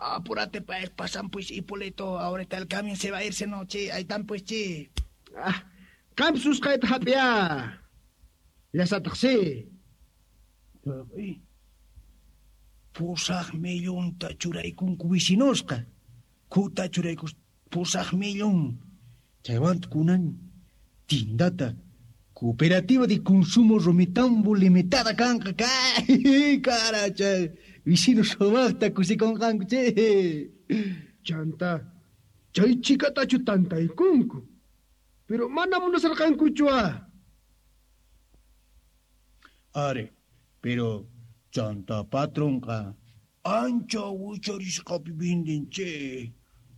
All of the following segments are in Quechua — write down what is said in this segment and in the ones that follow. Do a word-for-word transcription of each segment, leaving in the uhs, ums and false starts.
Apúrate pues, pasan pues, Hipólito, ahorita el camión se va a irse, no, che, ahí están pues, che. Ah, qam susqayta hap'iya. Llasataq si. Pusaq millonta churaykunku vecinosqa. Kuta churaykus pusaq millón. Chaywanta kunan tindata Cooperativa de Consumo Romitambo Limitada kanqa kay cara chay vecino sumaqta kusikunqanku che. Chanta chay chikatachu tantaykunku. Pero mana munasarqankuchu ah. Are, pero chanta patronqa ancha wicharisqapi venden che.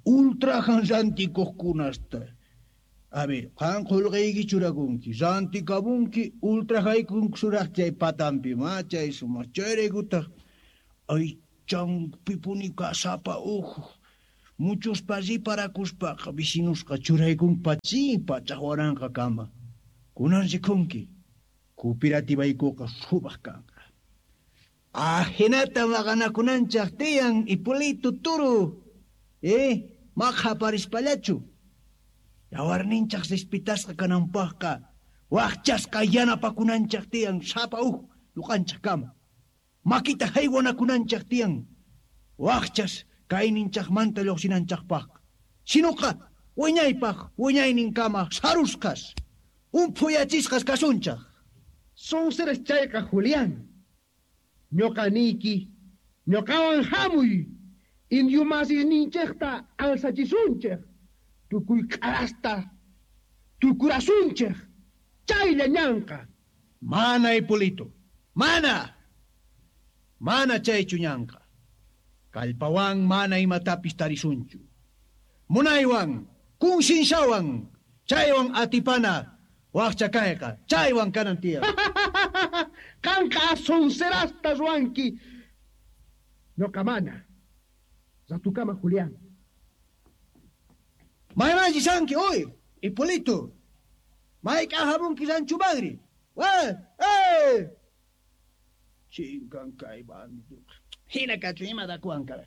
Ultrajan rantikuqkunasta. A ver, qan qullqiyki churakunki, rantikabunki, ultrajaykunki suraq chay patampi, ma chay sumaq chayraykutaq aychanpipuni kasapa uhu. Muchos riparakuspaqa vecinusqa churaykunki pachin pachaq waranqa kama. Kunan rikunki, cooperatibaykuqa sumaq kanqa. Ajinata maqanakunanchaq tiyan Hipólito turu. Eh, maqhaparispallachu. Yawarninchaq respitasqa kananpaqqa waqchasqa yanapakunanchaq tiyan sapa uj ñuqanchaq kama. Makita haywanakunanchaq tiyan waqchas kayninchaqmanta lluqsinanchaqpaq. Sinuqa wiñaypaq wiñayninkama sarusqas umphuyachisqas kasunchaq. Sonseras chayqa Julián. Ñuqa niyki, ñuqawan hamuy. Indio masisninchaqta alsachisunchaq. Tukuy k'arasta tukurasunchaq. Chaylla ñanqa. Mana Hipólito, mana. Mana chaychu ñanqa. Kallpawan mana imatapis tarisunchu. Munaywan, kunsinshawan, chaywan atipana, waqcha kayqa, chaywan kanan tiyan. Qanqa sonserasta ruwanki. Ñuqa mana. Ratukama Julián. Maymanchi sanki, oy, Hipólito. Mayk'a hamunki rancho madre. ¡Wa! ¡Eh! Chinkan kay bandido. Hina kachu ima dakuwan kara.